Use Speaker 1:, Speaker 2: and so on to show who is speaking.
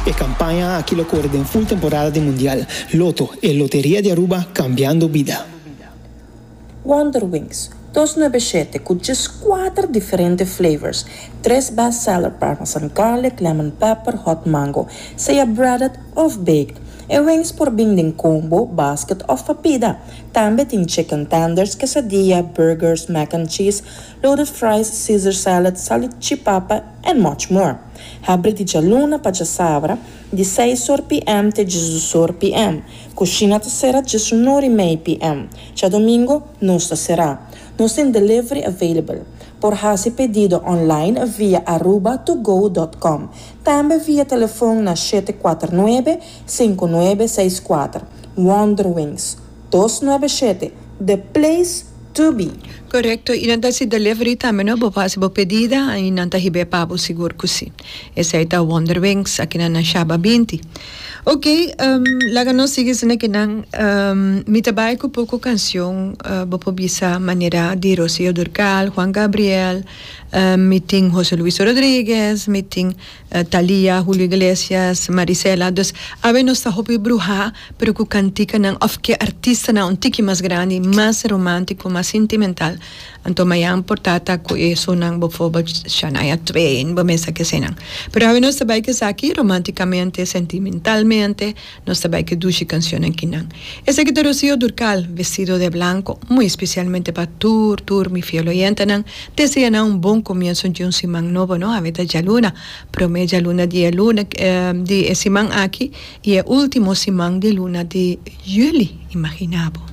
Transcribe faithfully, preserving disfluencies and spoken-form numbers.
Speaker 1: E campaña aki lo core den full temporada di Mundial. Lotto, e loteria di Aruba, cambiando bida.
Speaker 2: Wonder Wings, dos nuebe shete cu kuater diferente flavors. Tres bestseller: parmesan garlic, lemon pepper, hot mango. Sea breaded of baked. E wings por bin den combo, basket of pa pida. Tambe tin chicken tenders, quesadilla, burgers, mac and cheese, loaded fries, Caesar salad, salchipapa and much more. Habri di dialuna pa diasabra, di seis or P M te diesdos or P M. Cushina ta sera diesun or y mei P M. Diadomingo no ta sera. Nos tin delivery available. Por haci pedido online via aruba to go punto com. Tambe via telefon na shete cuater nuebe, cinco nuebe seis cuater. Wonder Wings, dos nuebe shete, the place to be.
Speaker 3: Correcto, y nan ta haci delivery tambe, no? Bo haci bo pedido y nan ta hibe pa bo, sigur cu si. Esey ta Wonder Wings aki na Shaba binti. Ok, um, laga nos sigui asina cu nan um, mi ta bay cu poco cancion, uh, bo por bisa manera di Rocío Durcal, Juan Gabriel, um, mi tin José Luis Rodríguez, mi tin uh, Thalía, Julio Iglesias, Marisela. Dus awe nos ta hopi bruha, pero cu cantica nan of cu artista nan un tiki mas grandi, mas romantico, mas sentimental. Anto mayan por ta cu eso nan bijvoorbeeld Shania Twain, bo mes sa cu nan. Pero awe nos ta bay cu aki romanticamente, sentimentalmente, nos ta bay cu dushi cancion aki nan. Esaki ta Rocío Durcal, "Vestido de Blanco", muy especialmente pa tur, tur mi fiel oyente nan. Desea nan un bon comienso di un siman nobo, no? Awe ta dialuna, prome dialuna di luna, eh, di siman aki, y e ultimo siman di luna di juli, imagina bo.